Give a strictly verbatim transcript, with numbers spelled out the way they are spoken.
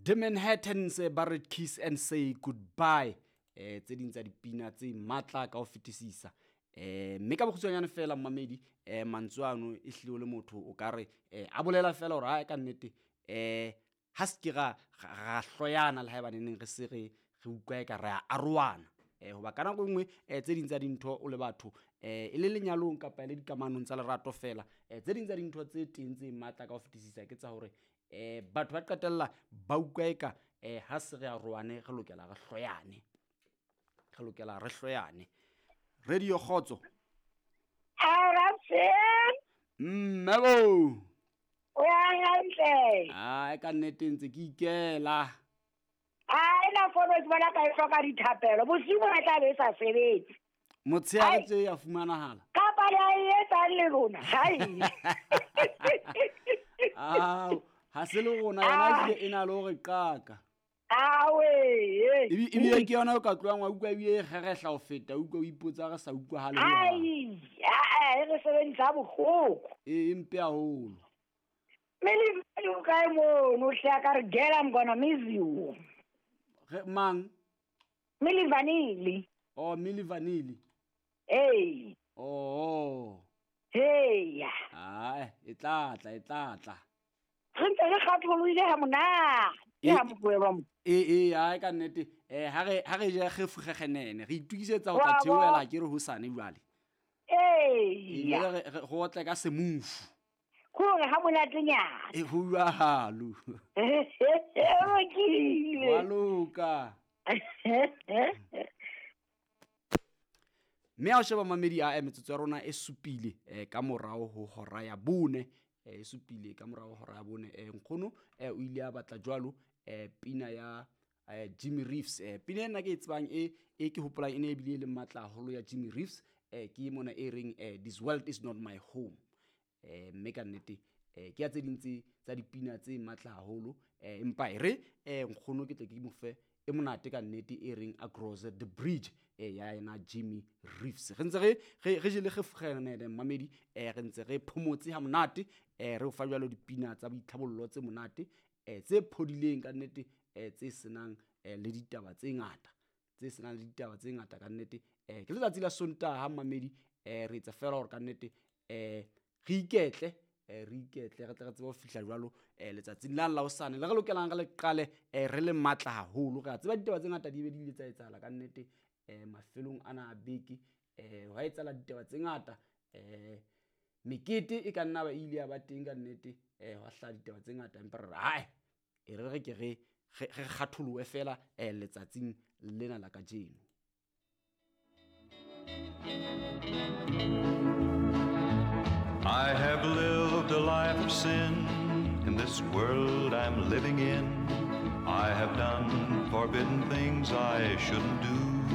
The Manhattans ba re "Kiss and Say Goodbye", eh tse ding tsa dipina tse matla ka ho fetisisa. eh Mme ka bokgutshwanyane fela, mmamedi, eh mantswe ano e hlile o le motho o ka re eh a bolela fela hore ha ka nnete eh ha se ke ra ra hloyana le haeba neneng re se re re utlwa eka re a arohana. eh Hoba ka nako e nngwe eh tse ding tsa dintho o le batho, eh e le lenyalong kapa e le dikamanong tsa lerato fela, eh tse ding tsa dintho tse teng tse matla ka ho fetisisa ke tsa hore eh batho ba qetella ba utlwa eka eh ha se re arohane re lokela re hloyane, re lokela re hloyane. Radio Kgotso. Mmebo. O ya hantle? Ah, ka nnete ntse ke ikela. Ah, ena fono ke bona ka e hloka dithapelo. Bosiu bona tla be e sa sebetse. Motshehare tse ya fumanahala. Kapa le a e etsang le rona. Hai. Ah, ha se le rona yona ebile e na le hore qaka. Awe. Ebile ke yona o ka tlohang wa utlwa ebile e kgerehla ho feta, utlwa o ipotsa re sa utlwahale ho hang. Ai, a e re sebedisa bohloko. E mpe haholo. Mele o kae mono hle a ka re, "Girl, I'm gonna miss you." Re mang? Milli Vanilli. Oh, Milli Vanilli. Ee. Oh. Hey. Ah, e tla tla, e tla tla. Re ntse re kgatholohile ha monate. E- Ha mokuelwa mo. E e ai ka nnete eh ha re ha re je kgefugegenene re itukisetsa ho tla Wa bo. theohela ke re hosane jwale. Ee. Ebile re re- go otle ka semufu. Kore ha monatenyana. E ho jwalo. Lokile. Wa loka. Mme ha o sheba, mamedi, a metsotso ya rona e supile eh, ka morao ho hora ya bone, eh, e supile ka morao ho hora ya bone. eh, nkgono eh, o ile a batla jwalo eh, pina ya eh, Jimmy Reeves. eh, pina ena ke e tsebang e e ke hopolang e ne ebile e le matla haholo ya Jimmy Reeves, eh, ke mona e reng eh, "This World Is Not My Home". eh, mme ka nnete eh, ke ya tse ding tse tsa dipina tse matla haholo, eh, empa e re eh, nkgono ke tle ke mo fe e monate ka nnete e reng "Across the Bridge", eh, ya yena Jimmy Reeves. Re ntse re re re jele kgefugenene, mmamedi, eh, re ntse re phomotse ha monate, eh, re o fa jwalo dipina tsa boitlhabollo tse monate, eh, tse phodileng ka nnete, eh, tse senang eh, le ditaba tse ngata, tse senang le ditaba tse ngata ka nnete. eh, ke letsatsi la Sontaha, mmamedi, eh, re etsa fela hore ka nnete eh, re iketle, eh, re iketle re tle re tsebe ho fihla jwalo eh, letsatsing la la hosane le re lokelang re le qale eh, re le matla haholo. Re a tseba ditaba tse ngata di be di ile tsa etsahala ka nnete eh, mafelong ana a beke. eh, hwa etsahala ditaba tse ngata, eh, mekete e ka nna ba ile ya ba teng ka nnete, eh, hwa hlaha ditaba tse ngata, empa re re hae e re re ke re re re kgatholohe fela eh, letsatsing lena la kajeno. I have lived a life of sin in this world I'm living in. I have done forbidden things I shouldn't do.